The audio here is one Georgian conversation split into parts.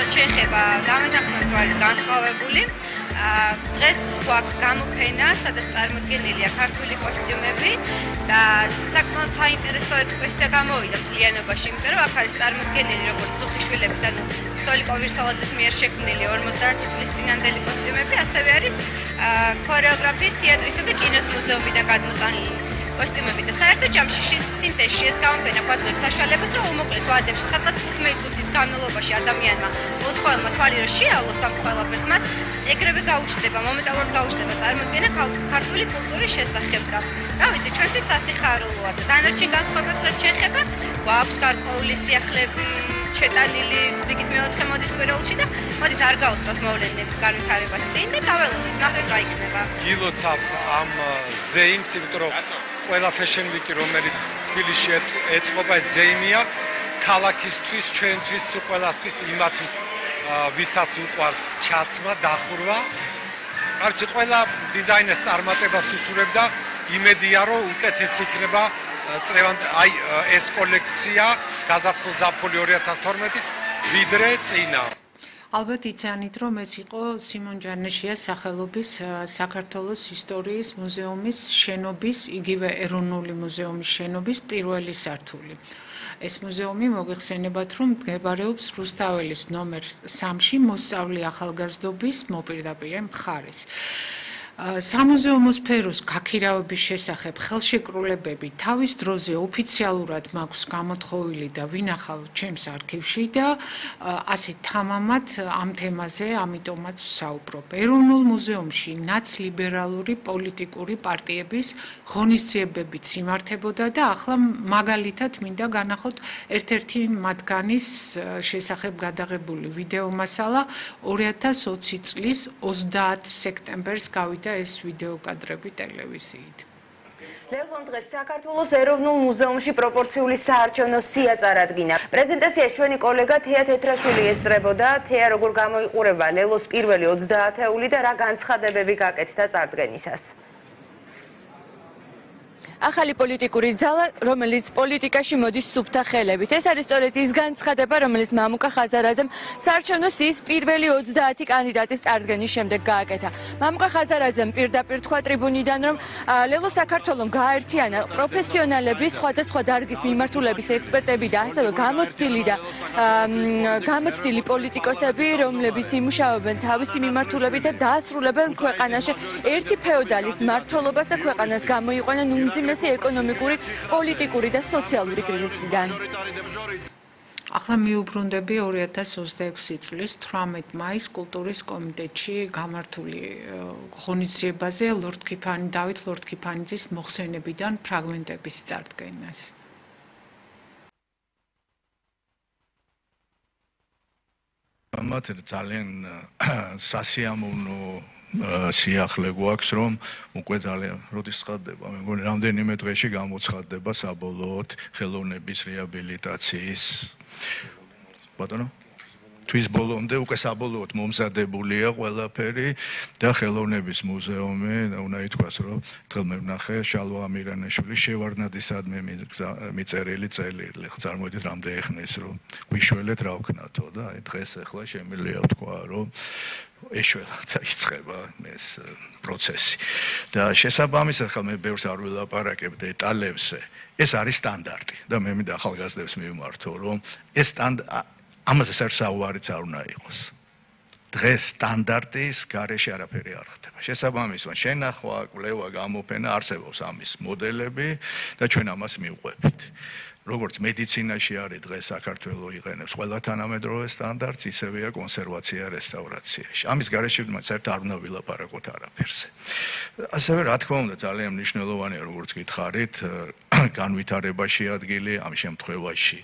რაც შეეხება გამეთახმების ვარის განსხვავებული, დღეს გვაქვს გამოფენა, სადაც წარმოდგენილია ქართული კოსტიუმები და საკმაოდ საინტერესო ექსპოზიცია გამოვიდა მთლიანობაში, იმიტომ რომ აქ არის წარმოდგენილი როგორც წუხიშვილების, ანუ სოლიკო ვირსალაძის მიერ შექმნილი 51 წლის წინანდელი კოსტიუმები, ასევე არის ქორეოგრაფიის, თეატრისა და კინოს მუზეუმიდან გადმოტანილი კოსტიუმები და საერთოდ ჯამში სინთეზში ეს გამოფენა გვაძლევს საშუალებას, რომ უმოკლეს ვადებში, სადღაც 15 წუთის განმავლობაში ადამიანმა უცხოელმა თვალი რომ შეალოს ამ ყველაფერს, მას ეგრევე გაუჩნდება, მომენტალურად გაუჩნდება წარმოდგენა ქართული კულტურის შესახებ და რა ვიცი, ჩვენთვის სასიხარულოა და დანარჩენ განსხვავებებს რაც შეეხება, გვაქვს გარკვეული სიახლეები შეტანილი რიგით მეოთხე მოდის კვირაულში და მოდის არ გაუსწროთ მოვლენების განვითარებას წინ და დაველოდოთ, ნახეთ რა იქნება. გილოცავთ ამ ზეიმს, იმიტომ რომ ყველა fashion week-ი, რომელიც თბილისში ეწყობა, ეს ზეიმია ქალაქისთვის, ჩვენთვის, ყველასთვის, იმათვის, ვისაც უყვარს ჩაცმა, დახურვა. რა ვიცი, ყველა დიზაინერს წარმატებას უსურვებდა, იმედია, რომ უკეთესი იქნება აი ეს კოლექცია გაზაფხულ-ზაფხული 2012-ის ვიდრე წინა. ალბათ იცანით, რომ ეს იყო სიმონ ჯანეშიას სახელობის საქართველოს ისტორიის მუზეუმის შენობის, იგივე ეროვნული მუზეუმის შენობის პირველი სართული. ეს მუზეუმი მოგეხსენებათ, რომ მდებარეობს რუსთაველის ნომერ 3-ში მოსწავლე ახალგაზრდობის მოპირდაპირე მხარეს. სამუზეუმო სფეროს გაქირავების შესახებ ხელშეკრულებები თავის დროზე ოფიციალურად მაქვს გამოთხოვილი და ვინახავ ჩემს არქივში და ასე თამამად ამ თემაზე ამიტომაც ვსაუბრობ. ეროვნულ მუზეუმში ნაცლიბერალური პოლიტიკური პარტიების ღონისძიებებიც იმართებოდა და ახლა მაგალითად მინდა განახოთ ერთ-ერთი მათგანის შესახებ გადაღებული ვიდეო მასალა 2020 წლის 30 სექტემბერს გავიდა ეს ვიდეო კადრები ტელევიზიით. ლევონ დღეს საქართველოს ეროვნულ მუზეუმში პროპორციული საარჩევნო სია წარადგინა. პრეზენტაციას ჩვენი კოლეგა თეა თეთრაშვილი ესწრებოდა. თეა, როგორ გამოიყურება ლელოს პირველი 30 ათეული და რა განცხადებები გაკეთდა წარდგენისას? ახალი პოლიტიკური ძალა, რომელიც პოლიტიკაში მოდის სუფთა ხელებით. ეს არის სწორედ ის განცხადება, რომელიც მამუკა ხაზარაძემ საარჩევნო სიის პირველი 30 კანდიდატის წარდგენის შემდეგ გააკეთა. მამუკა ხაზარაძემ პირდაპირ თქვა ტრიბუნიდან, რომ ლელო საქართველოს გააერთიანა პროფესიონალები, სხვადასხვა დარგის მიმართულების ექსპერტები და ასევე გამოცდილი პოლიტიკოსები, რომლებიც იმუშავებენ თავისი მიმართულებით და დაასრულებენ ქვეყანაში ერთი ფეოდალის მმართველობას და ქვეყანას გამოიყვანენ უმძიმეს ეკონომიკური, პოლიტიკური და სოციალური კრიზისიდან. ახლა მიუბრუნდები 2026 წლის 18 მაის კულტურის კომიტეტში გამართული ღონისძიებაზე დავით ლორდ-ქიფანიძის მოხსენებიდან ფრაგმენტების წარდგენას. მათ ძალიან სასიამოვნო სიახლე გვაქვს, რომ უკვე ძალიან როდის ცხადდება, მე მგონი რამდენიმე დღეში გამოცხადდება საბოლოოდ ხელოვნების რეაბილიტაციის ბატონო თვის ბოლომდე უკვე საბოლოოდ მომზადებულია ყველაფერი და ხელოვნების მუზეუმი უნდა ითქვას, რომ დღეს მე ვნახე შალვა ამირანაშვილის შევარდნადისადმი მიწერილი წერილი. წარმოვიდით რამდენი ხნის რომ ვიშველეთ რა ვქნათო და აი დღეს ახლა შემიძლია ვთქვა, რომ ეშველა და იწყება ეს პროცესი. და შესაბამისად ხა მე ბევრს არ ვილაპარაკებ დეტალებზე. ეს არის სტანდარტი და მე მინდა ახალგაზრდებს მივმართო, რომ ეს ამაზე საუბარიც არ უნდა იყოს. დღეს სტანდარტის გარეშე არაფერი არ ხდება. შესაბამისად, შენახვა, კვლევა, გამოფენა არსებობს ამის მოდელები და ჩვენ ამას მივყვებით. როგორც მედიცინაში არის დღეს საქართველოს იყენებს ყველა თანამედროვე სტანდარტს, ისევეა კონსერვაცია, რესტავრაციაში. ამის გარეშე საერთოდ არ უნდა ვილაპარაკოთ არაფერზე. ასევე რა თქმა უნდა ძალიან მნიშვნელოვანია, როგორც გითხარით, განვითარებაში ადგილი ამ შემთხვევაში.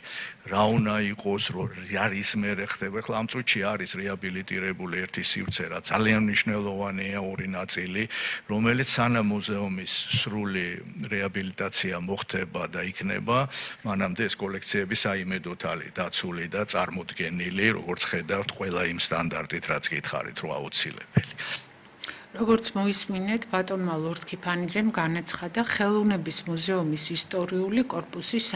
რა უნდა იყოს, რა ისმერე ხდება, ხლა ამ წუთში არის რეაბილიტირებული ერთი სივრცე, რა ძალიან მნიშვნელოვანია ორი ნაწილი, რომელიც სანამ მუზეუმის სრული რეაბილიტაცია მოხდება და იქნება, მანამდე ეს კოლექციები საიმედოდ არის დაცული და წარმოდგენილი, როგორც ხედავთ, ყველა იმ სტანდარტით, რაც გითხარით, რომ აუცილებელი. როგორც მოისმინეთ, ბატონმა ლორდ-ქიფანიძემ განაცხადა ხელოვნების მუზეუმის ისტორიული კორპუსის